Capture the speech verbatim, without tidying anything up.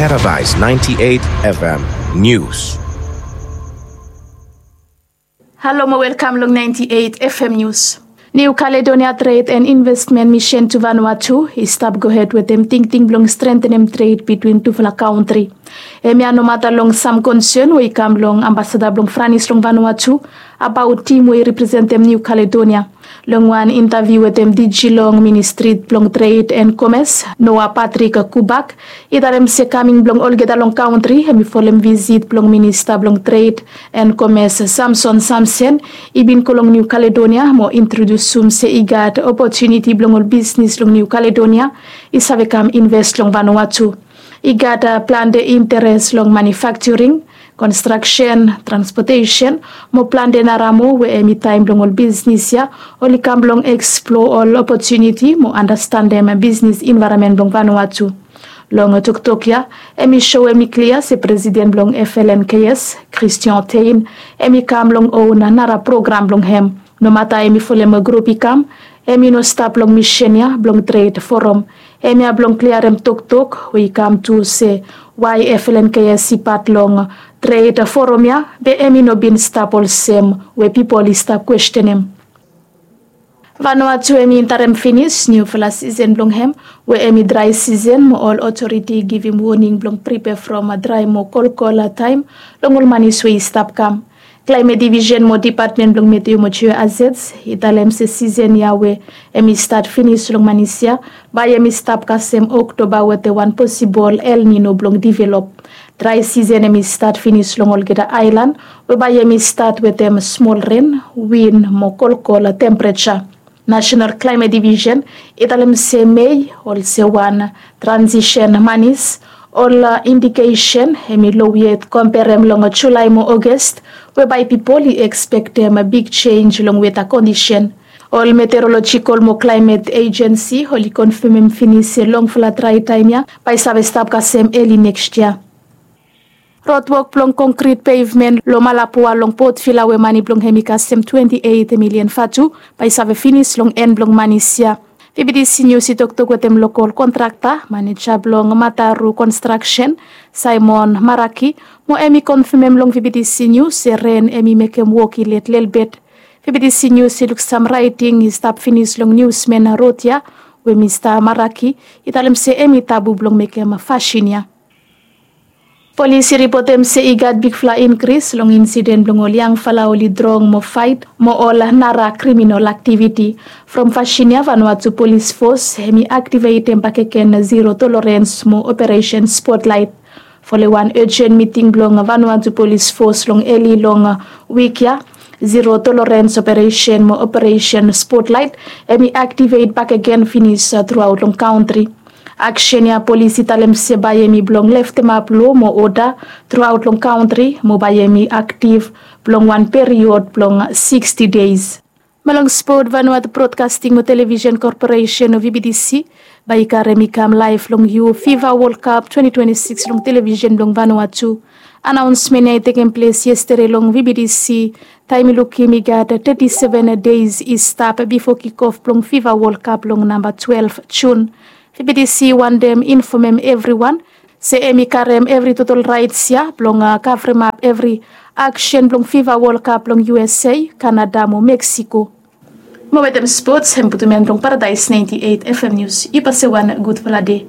Paradise ninety-eight F M News. Halo mo welkam long ninety-eight F M News. New Caledonia Trade and Investment Mission to Vanuatu i stap gohed wetem tingting blong strentenem tred bitwin tufala kantri. Hemia nomata long sam konsen we i kam long ambasada blong Franis long Vanuatu abaot tim we i representem New Caledonia. Long wan intaviu wetem D G long Ministri blong Tred and Komes, Noah Patrick Kubak, i talem se kaming blong olgeta long kantri hem i folem visit blong Minista blong Tred and Komes, Samson Samsen, i bin go long New Caledonia mo introdusum se i gat opotuniti blong ol bisnis long New Caledonia i save kam inves long Vanuatu. I gat plante interes long manufakturing, konstraksen, transpotesen mo plante nara moa we hem i taem blong ol bisnis ya oli kam blong eksploa ol opotuniti mo andastandem bisnis envaeronmen blong Vanuatu. Long toktok ya hem i soem i klia se presiden blong F L N K S, Christian Thein, hem i kam long own nara program blong hem. Nomata hem i folem grup i kam, hem i no stap long misen ya blong tred forum. Hemia blong kliarem toktok we i kam tu se wae F L N K S i pat long tred forum ya be hem i no bin stap olsem we pipol i stap kwestenem. Vanuatu hem i entarem finis niufala sisen blong hem we hem i drae sisen mo ol otoriti i givim woning blong pripea from drae mo kolkol taem long ol manis we i stap kam. Klaemet Divisen mo Dipatmen blong Meteo mo Jeo Azets i talem se sisen ya we hem i stat finis long manis ya bae hem i stap kasem Oktoba wetem wan posibol El Nino blong divelop. Drae sisen hem i stat finis long olgeta aelan we bae hem i stat wetem smol ren, win mo kolkol tempereja. Nasenal Klaemet Divisen i talem se Mei olsem wan transisen manis, ol indikesen hem i low yet komperem long Julae mo Oges we bae pipol i ekspektem big jenj long weta kondisen. Ol meteorolojikol mo klaemet ejensi oli konfamem finis se longfala drae taem ya bae i save stap kasem eli nekst yia. Rodwok blong konkrit pevmen long Malapua long Port Vila we mane blong hem i kasem twenti eit milian vatu bae i save finis long en blong manis ya. V B T C Nius i toktok wetem lokol kontrakta maneja blong Mataru Konstraksen, Simon Maraki, mo hem i konfamem long V B T C Nius se ren hem i mekem wok i let lelebet. V B T C Nius i luksam raeting i stap finis long niusmen rod ya we Mista Maraki i talem se hem i tabu blong mekem fasin ya. Polis i ripotem se i gat bigfala inkris long insiden blong ol yangfala oli drong mo faet mo ol nara kriminol aktiviti. From fasin ya Vanuatu Polis Fos hem i aktivetem bakegen zero tolerens mo Operesen Spotlaet. Folem wan ejen miting blong Vanuatu Polis Fos long eli long wik ya, zero tolerens operesen mo Operesen Spotlaet hem i aktivet bakegen finis truaot long kantri. Aksen ya polis i talem se bae hem i blong leftemap loa mo oda truaot long kantri mo bae hem i aktiv blong wan period blong siksti deis. Mo long spot, Vanuatu Broadcasting mo Television Corporation o V B T C bae i karem i kam laef long yu Fifa World Cup twenti twenti sikis long television blong Vanuatu. Anaonsmen ya i tekem ples yestede long V B T C taem i lukim i gat teti seven deis i stap bifo kikof blong Fifa World Cup long namba twelef Jun. V B T C i wantem infomem evriwan se hem i karem evri totol raets ya blong kavremap evri aksen blong Fifa World Cup long U S A, Kanada mo Meksiko. Mo wetem spots hem putum en long Paradise ninety eight F M News. Yu pasem wan gudfala dei.